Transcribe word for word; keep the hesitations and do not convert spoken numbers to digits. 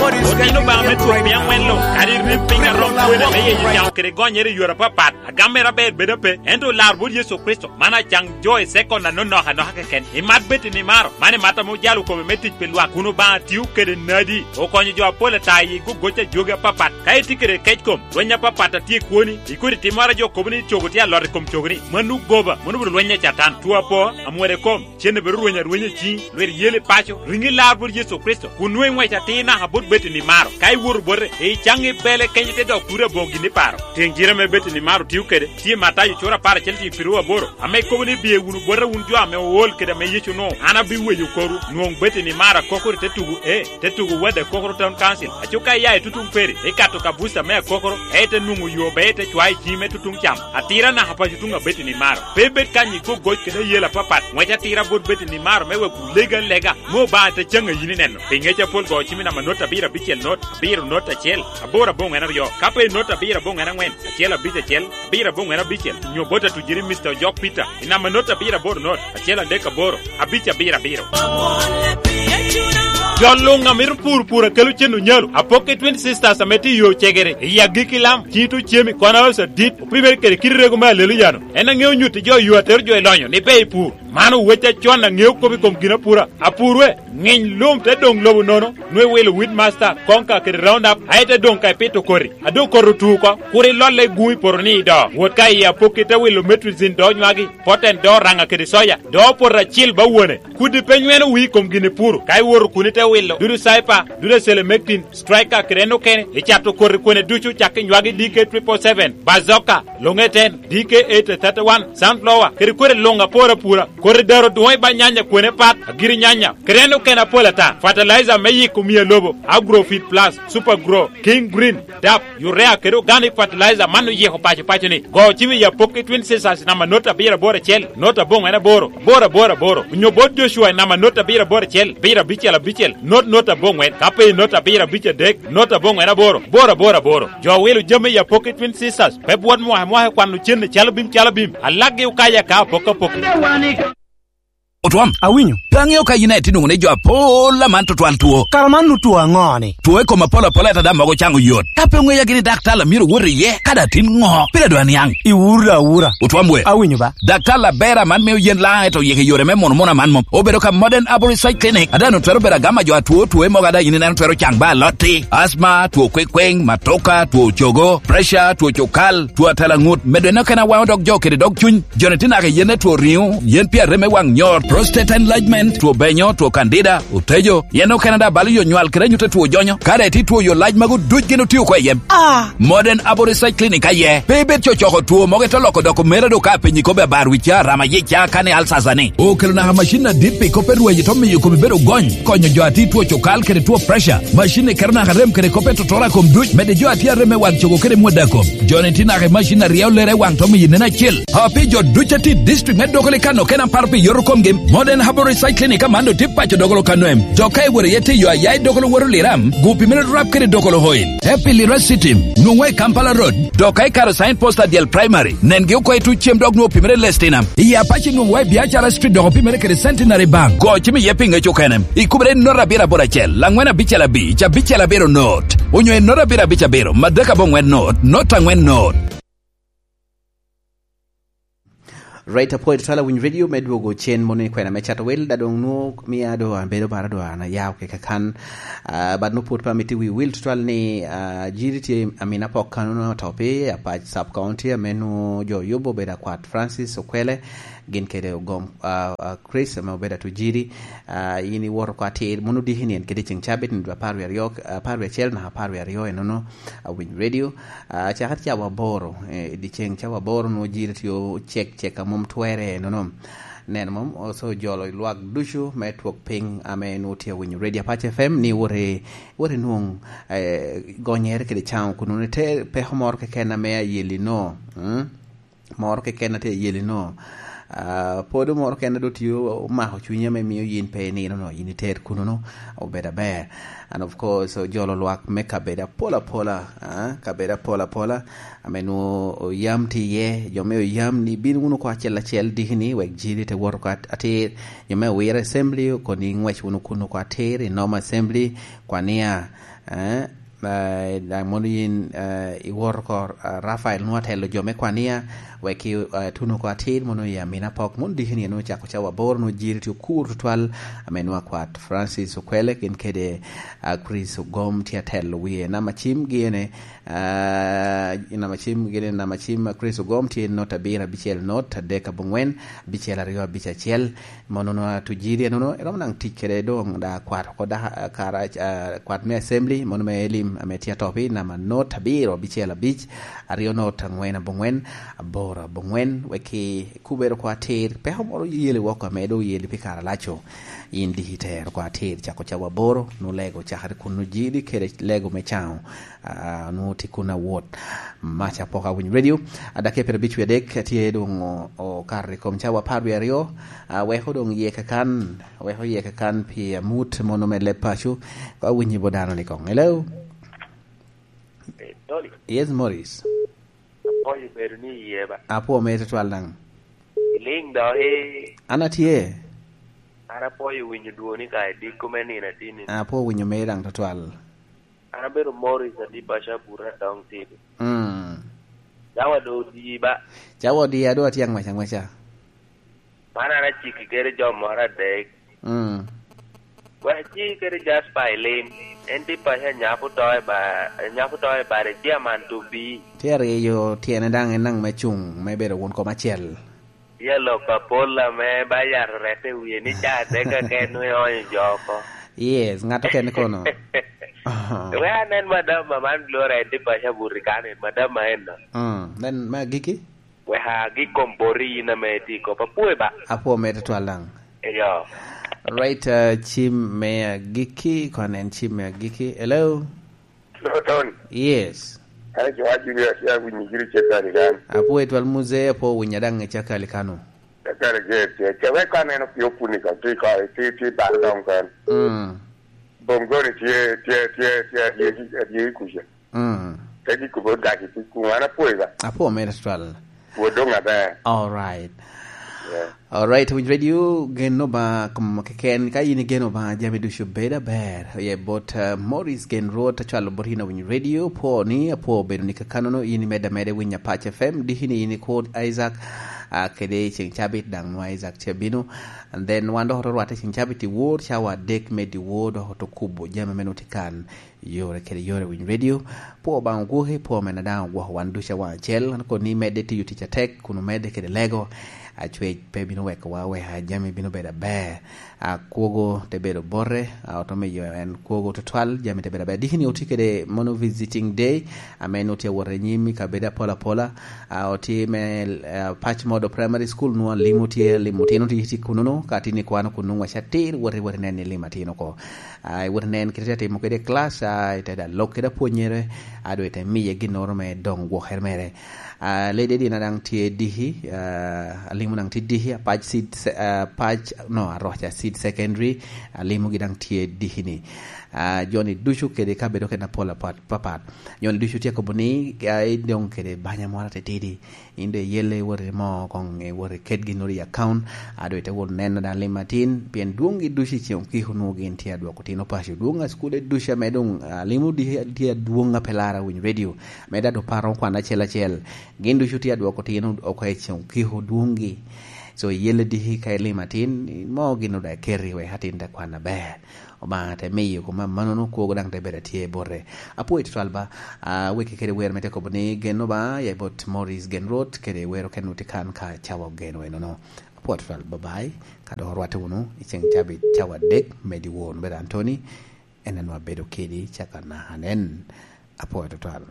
Otino Obaŋa me twok mia aŋwen luŋ, kadi rib piny arom kwene me yeyo caŋo kede gonyere i yore apapat, agam mere aber bedo ape, ento olar bot Yecu Kricito, man acaŋ jo i sekon anonok anoka keken. Imat Betty Nimaro, man imat ame ojalo kome me tic pi lwak, kun Obaŋa tio kede nadi, okonyo jo apol ata i gogoc a jogi apapat. Ka itye kede kec kom, lweny apapat a tye i kwoni, ikodi timmoro a jo kobo ni cogo tye alot i kom cogoni, mano goba, mano obedo lweny a Catan. Two apo, amwode kom, cen obedo rweny arwenya i ciŋi, lwit yel i paco, riŋi lar bot Yecu Kricito, kun nwoŋo iŋwec atir naka bot Betty Nimaro. Ka iwoto bote, icaŋ i bele kenyo te dok turi aboŋo gin iparo. Tiŋ jire ame Betty Nimaro tio kede, tye i Matayo cura apar acel tiŋ piru aboro, ame kobo ni, "Biye wunu bota wun jo ame ool kede ame Yecu onwoŋo, an abiweyo korwu." Nwoŋ Betty Nimaro akokoro i te tugo, e, te tugo wadde akokoro Town Council. Aco ka iya i tutuŋ peri, ikato ka buca me akokoro, e, ite nwoŋo yo be ite cwayo i ciŋi me tutuŋ cam. Atira naka paco tuŋ a Betty Nimaro. Pe ibed kany i gogoc kede ayela apapat. Ŋwec atira bot Betty Nimaro me wek wulege alega, me Obaŋa te caŋ a yin ineno. Pi ŋec apol go cimi namba not abiro abicel not, abiro not acel, aboro aboŋwen aryo. Ka pe not abiro aboŋwen aŋwen, acel abic acel, abiro aboŋwen abicel, nyo bot atujiri Mister Ojok Peter, i namba not abiro aboro not, acel adek aboro, abic abiro abiro. Jo luŋ a mito pur pur a kelo cen onyalo, apok i Twin Sisters ame tye i yo cegere, i agikki lam, cito cemi, kono osa dit, opimere kede kit rego me Aleluya-nu. En aŋeo nyutti jo yo atero jo i lonyo ni pe i pur. Man owec acon aŋeo kop i kom ginapura. Apur we, ŋiny lum te doŋ lobo nono, nwe wilo wit masta, konka kede round up, aye te doŋ ka ipito koti. A doŋ koti otu oko, kur ilolle i gun i poto ni i do. Wot ka i apokki te wilo metricin do nywagi, poten do raŋa kede soya, do poto acil ba wone. Kudi pe nyweno wii i kom gin ipuro, ka iwoto kun ite wilo, dudu cipher, dudu acelemektin, striker kede en okene, icato koti kwene ducu cak i nywagi D K triple seven, bazooka, loŋeten, D K eight thirty-one, sunflower, kede kwede luŋ apor apura. Koti daro dwoŋ i ba nyanya kwene pat, agiri nyanya, kede en okene apol ata. Fertilizer me yiko mia lobo, Agrofit Plus, Super Grow, King Green, dap, urea kede organic fertilizer man oyiko paco paco ni. Go cim i apok i Twin Sisters namba not abiro aboro acel, not aboŋwen aboro, aboro aboro aboro. Onyo bot Joshua i namba not abiro aboro acel, abiro abicel abicel, not not aboŋwen, ka pe i not abiro abic adek, not aboŋwen aboro, aboro aboro aboro. Jo wilo jami i apok i Twin Sisters, pe bwot mwaka mwaka i kwano cen i calo bim calo bim, alaggi okayo aka apok apok. Otwom. Awinyo. Pe aŋeo ka yin aye tye nwoŋo ni jo apol aman tutwal two. Kara man nu two aŋo-ni? Two i kom apol apol ata daŋ mogo caŋo yot. Ka pe oŋeya gini daktar a myero wot iye, kadi atin ŋo? Pire dwa niaŋ. Iwura awura. Otwom we. Awinyo ba. Daktar aber aman mio yen laŋ eto yeke yore me mono mono aman mom. Obedo ka Modern Arborist Side Clinic. Ada nu twero bedo agama jo atwo two mogo ada yin ineno twero caŋ ba alotti. Asma, two kwekweŋ, matoka, two cogo, pressure, two cukal, two atalaŋut. Medo en okene awaŋo dog jo kede dog cuny. Joni tye naka i yen etwo riŋo, yen pi arem me waŋ nyor, prostate enlargement, two benyo, two candida, otejo, yen okene daŋ balo yo nywal kede anyut etwo jonyo. Ka daŋ itye two yo lac magu duc gin otio oko i en. Ah! Modern Abo Research Clinic aye. Pe ibed cocoko two mogo ite loko doko mere do ka apenyi kobbe abar wica, rama yica, kani alsasa ni. Okelo naka macin adit pi kop erweyi to miyo komi bedo gony, konyo jo atye two cokal kede two pressure. Macin ni keto naka rem kede kop etotoro a kom duc, mede jo atye arem me waŋ cogo kede mwada kom. Joni tye naka i macin aryo lere waŋ to miyo nen acel. A pi jo duc a tye i district me Dogoli kano kena paro pi yoto komgi, Modern Herbal Research Clinic aman do tye paco Dogolo kano em. Dok ka iworo iye tiyo aya i Dogolo woro Liram, gu pimere rap kede Dogolo Oil. Te pi Lira City, nwoŋwa i Kampala Road. Dok ka ikaro sign post adyel primary, nengi oko i tuc cem dok nwoŋo pimere Lestinam. I Apache nwoŋwa i Biacara Street dok opimere kede Centenary Bank. Go cim iye pi ŋec okene. Ikubere i not abiro aboro acel, angwen abicel abic, abicel abiro not. Onyo i not abiro abic abiro, madek aboŋwen not, not angwen not. Right, apwoyo tutwal awinyo radio me dwogo cen mono i kwena me cato wel, da doŋ nwo mia do abedo bara do an ayao keke kan. Ah, but nwo pwod pe amito wi wil tutwal ni, ah, jiri tye amin apok kano no to pi apac sub county ame nwo jo yubo obedo akwat Francis Okwele, gin kede ogom, ah, ah, Chris ame obedo atu jiri. Ah, in iwoto ko atir, mono diki ni en kede ceng cabit ni dwe apar wi aryo, apar wi acel naka apar wi aryo enono, awiny radio. Ah, cakere cawa aboro, eh, i dyeceŋ cawa aboro nwo jiri tye ocek cek a mom twere nono. Neno mom, oso jolo i lwak ducu me twok piny ame nwo tye awinyo Radio Apac F M ni wot i, wot i nwoŋ, eh, gonyere kede caŋo kun nwoŋo ite peko moro keken ame ayeli no. Mm? Moro keken a tye ayeli no. Ah, podo moro keken a do tye omako cwinyi ame mio yin pe inino no, yin iter kuno no, obedo aber. And of course, ojolo lwak me kabedo apol apola, ah, kabedo apol apola, ame nwo oyam tye iye, jo me oyam ni bin wunu oko acel acel diki ni, wek jiri te wot oko at-, atir, jo me Owiro Assembly okoni ngwec wunu kun oko atir, i Noma Assembly, kwania, Eh, eh, daŋ mono yin, eh, iwor oko, eh, Rafael nwoŋo atelo jo me kwania, wek i, eh, tuno oko atir, mono i Amina Pok, mono diki ni en ocako cawa aboro, nwoŋo jiri tye okur tutwal, ame nwoŋo akwat Francis Okwele, gin kede, ah, Chris Ogom tye atelo wie. Namba cim gine, ah, namba cim gine, namba cim, ah, Chris Ogom tye not abiro abicel not, adek abongwen, abicel aryo abic acel. Mono nwa tujiri enono, eromo naŋ tic kede doŋ da kwat oko da, kara, ah, kwat me assembly, mono me Elim, ame tye atop i namba not abiro abicel abic, aryo not angwen abongwen, aboro abongwen, wek i kubere oko atir, peko moro yeli woko ame doŋ yeli pi kare alaco. In diki tero oko atir, cako cawa aboro, nwoŋo lego cakere kun nwoŋo jiri kede lego me caŋo. Ah, nwoŋo tye kun awot. Maca pok awinyo radio. Adake pire bicwi adek, tye doŋ o-, okato i kom cawa apar wie aryo. Ah, weko doŋ yeke kan, weko yeke kan pi amut mono me leb paco. Ka winyi bo dano ni koŋ. Hello? Eh, Tony. Yes, Morris. Apwoyo bedo ni iye ba. Apwo mere tutwal daŋ. Iliŋ do, eh. An atye. An apwoyo winyo dwoni ka i diko me nino atini. Apwo winyo mere daŋ tutwal. An abedo Morris Adiba Shabura Dong Tito. Mm. Cawa do odi ba. Cawa odi a do atye aŋwec aŋweca. Man an aciki kede jo moro adek. Mm. Wek aciki kede Jasper i lim. En tye paco anyap oto i ba-, anyap oto i bade tye aman to bi. Tye ariyo tyene daŋ en daŋ me cuŋ me bedo won kom acel. Tye alok apol ame ba yat orette wiye ni ca adek keken nwe onyo jo oko. Yes, ŋat okene kono. Wek anen madam ma man Gloria en tye paco abuti kan en madam ma en no. Mm, nen me agiki? Wek agik kom boti in ame tye i kop apwoyo ba. Apwo mere tutwal daŋ. Eyo. Right, uh, cim me agiki, kon en cim me agiki. Hello? Hello, Tony. Yes. An Joa Julius, ya winyo giri Cakali kan. Apwo etwal Muzee, apwo winya daŋ i Cakali kano. Cakali, yes, yes. Cakali kan en opio puni kan, ti ka, ti, ti baro dong kan. Mm. Bongoni tye, tye, tye, tye, adye, adye kuca. Mm. Te di kubo daki ti kuŋ an apwoyo ba. Apwo mere tutwal. Pwod doŋ aber. All right. Yeah. All right, winyo radio, gen Obaŋa kom keken. Ka in igeno Obaŋa, jami ducu bedo aber. Ye bot, uh, Morris Gen Rwot, acwalo bot in awinyo radio, pwo ni, apwo bedo ni kakanono, in imedde ameda winyo Apac F M, diki ni in ikwo Isaac, uh, kede i ceŋ cabit daŋ nwa Isaac tye bino. And then wan dok oto rwatte i ceŋ cabit i wor, cawa adek me dyewor, dok oto kubo jami me noti kan. Yore kede yore winyo radio. Pwo Obaŋa ogwoki, pwo mena daŋ ogwoko wan ducu awaŋ acel. An koni medde tiyo tic atek, kun omedde kede lego. Acwec pe bino wekowa, weka jami bino bedo aber. A, kwogo te bedo bote, a, oto miyo en kwogo tutwal, jami te bedo aber. Diki ni oti kede mono visiting day, ame en oti awot anyim i kabedo apol apola. A, oti me, a, Pac Modo Primary School, nwa limo tye, limo tino tye, tye kunono, ka tini kwano kuno, waca atir, woti, woti nen ni limo atino ko. A, iwot inen kite te timo kede i class, a, ite da lok kede apwonyere, a, dwe te miye ginnoro me doŋ gwokere mere. A, lady dina daŋ tye diki, a, alimo daŋ tye diki, Apac Seed Se-, a, Apac, no, Aroca Seed Secondary, alimogi daŋ tye diki ni. A, joni ducu kede kabedo kede apol apat, papat. Joni ducu tye kobo ni, a, idong kede banya moro atitidi. In doŋ iyelle iwot imo koŋ iwot iket ginnoro i account, a doŋ ite wot neno daŋ lim atin, pien dwoŋgi ducu i ceŋ okiko onwoŋo gin tye adwoko tino paco. Dwoŋ a cukule ducu ame doŋ, a, limo di-, tye adwoŋ a pe lara winyo radio, ame daŋ doŋ paro kwan acel acel. Gin ducu tye adwoko tino oko i ceŋ okiko dwoŋgi. So, iyelle diki ka ilim atin, mo ginnoro daŋ iketi wek atin te kwan aber. Obaŋa te miyo kome amannono, kwogo daŋ te bedo atye bote. Apwoyo tutwal ba, a, weki kede wer me te kobo ni gen Obaŋa, ya i bot Morris Gen Rwot, kede wer okene oti kan ka cawa ogeno enono. Apwoyo tutwal, bye bye. Ka dok orwatte wunu, i ceŋ cabit, cawa adek, me dyewor, bedo Anthony, en anwa bedo kedi, caka naka nen. Apwoyo tutwal.